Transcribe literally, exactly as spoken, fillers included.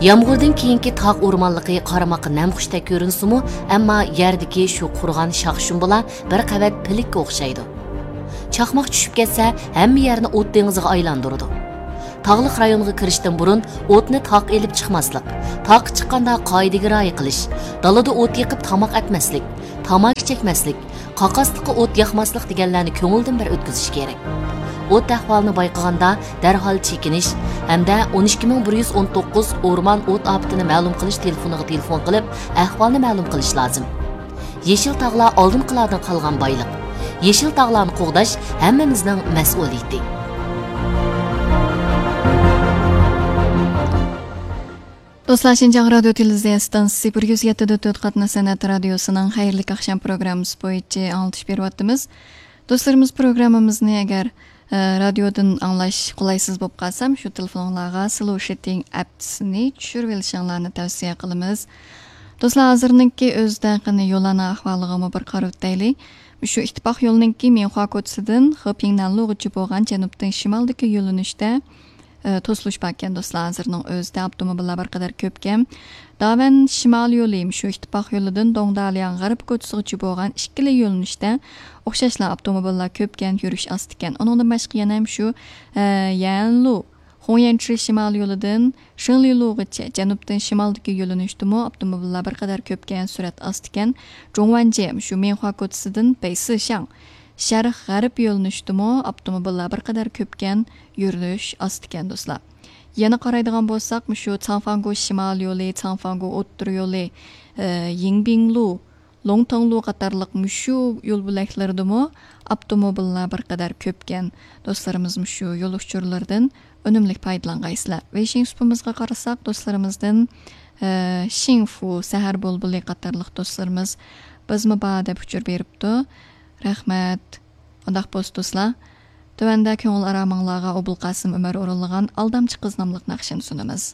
يامغۇردىن كېيىنكى تاغ ئورمانلىقى قارىماققا نەمخۇشتەك كۆرۈنسىمۇ، ئەمما يەردىكى شۇ قۇرۇغان شاخشۇم بولا بىر قەۋەت پىلىككە ئوخشايدۇ. چاقماق چۈشۈپ كەتسە، ھەممە يەرنى ئوت دېڭىزىغا ئايلاندۇرىدۇ. تاغلىق رايونغا كىرىشتىن بۇرۇن ئوتنى تاققا ئېلىپ چىقماسلىق، تاققا چىققاندا قائىدىگە رىئايە قىلىش، دالىدا ئوت يېقىپ تاماق ئەتمەسلىك، تاماكا چەكمەسلىك، قاقاسلىققا ئوت ياقماسلىق دېگەنلەرنى كۆڭۈلدىن بىر ئۆتكۈزۈش كېرەك. ئوت ئەھۋالىنى بايقىغاندا دەرھال چېكىنىش ھەمدە ئون ئىككى مىڭ بىر يۈز ئون توققۇز ئورمان ئوت ئاپىتىنى مەلۇم قىلىش تېلېفونىغا تېلېفون قىلىپ، ئەھۋالنى مەلۇم قىلىش لازىم. يېشىل تاغلار ئالدىنقىلاردىن قالغان بايلىق. يېشىل تاغلارنى قوغداش ھەممىمىزنىڭ مەسئۇلىيىتى. دوستلار، شىنجاڭ رادىيو تېلېۋىزىيە ئىستانسىسى بىر يۈز يەتتە دە تۆت قاتناش سەنئەت رادىيوسىنىڭ خەيرلىك ئاخشام پروگراممىسى بويىچە ئاڭلىتىش بېرىۋاتىمىز. دوستلىرىمىز، پروگراممىمىزنى ئەگەر، ئە، رادىيودىن ئاڭلاش قولايسىز بولۇپ قالسا، شۇ تېلېفونۇڭلارغا سلوشىتىڭ ئەپسىنى چۈشۈرۈۋېلىشىڭلارنى تەۋسىيە قىلىمىز. دوستلار، ھازىرنىڭكى ئۆزىدە قېنى يوللارنىڭ ئەھۋالىغىمۇ بىر قارىۋېتەيلى. شۇ ئىتتىپاق يولىنىڭكى مىنخۇا كوچىسىدىن خېپىڭنەنلۇغىچە بولغان جەنۇبتىن شىمالدىكى يۆنىلىشتە، ئە، توسۇلۇش باركەن، دوستلار. ھازىرنىڭ ئۆزىدە ئاپتوموبىللار بىر قەدەر كۆپكەن. داۋەن شىمال يولى، شۇ ئىتتىپاق يولىدىن دوڭدالياڭ غەرب كوچىسىغىچە بولغان ئىككىلا يۆنىلىشتە ئوخشاشلا ئاپتوموبىللار كۆپكەن، يۈرۈش ئاستىكەن. ئۇنىڭدىن باشقا يەنە شۇ، ئە، يەنلۇ، خۇڭيەنچى شىمال يولىدىن شېڭلىلۇغىچە جەنۇبتىن شىمالدىكى يۆنىلىشتىمۇ ئاپتوموبىللار بىر قەدەر كۆپكەن، سۈرئەت ئاستىكەن. جۇڭۋەنجې، شۇ مىنخۇا كوچىسىدىن بېيسىشاڭ شەرق غەرب يۆنىلىشتىمۇ ئاپتوموبىللار بىر قەدەر كۆپكەن، يۈرۈش ئاستىكەن، دوستلار. يەنە قارايدىغان بولساق، مۇشۇ چاڭفاڭگو شىمال يولى، چاڭفاڭگو ئوتتۇرا يولى، ئى، يىڭبىڭلۇ، لوڭتاڭلۇ قاتارلىق مۇشۇ يول بۆلەكلىرىدىمۇ ئاپتوموبىللار بىر قەدەر كۆپكەن. دوستلىرىمىز مۇشۇ يول ئۇچۇرلىرىدىن ئۈنۈملۈك پايدىلانغايسىلەر. ۋېيشىڭ سۇپىمىزغا قارىساق، دوستلىرىمىزدىن، ئى، شىڭفۇ، سەھەر بۇلبۇلى قاتارلىق دوستلىرىمىز بىزمۇ بار دەپ ئۇچۇر بېرىپتۇ. رەھمەت. ئۇنداق بولسا دوستلار، تۆۋەندە كۆڭۈل ئارامىڭلارغا ئوبۇلقاسىم ئۆمەر ئورۇنلىغان ئالدامچى قىز ناملىق ناخشىنى سۇنىمىز.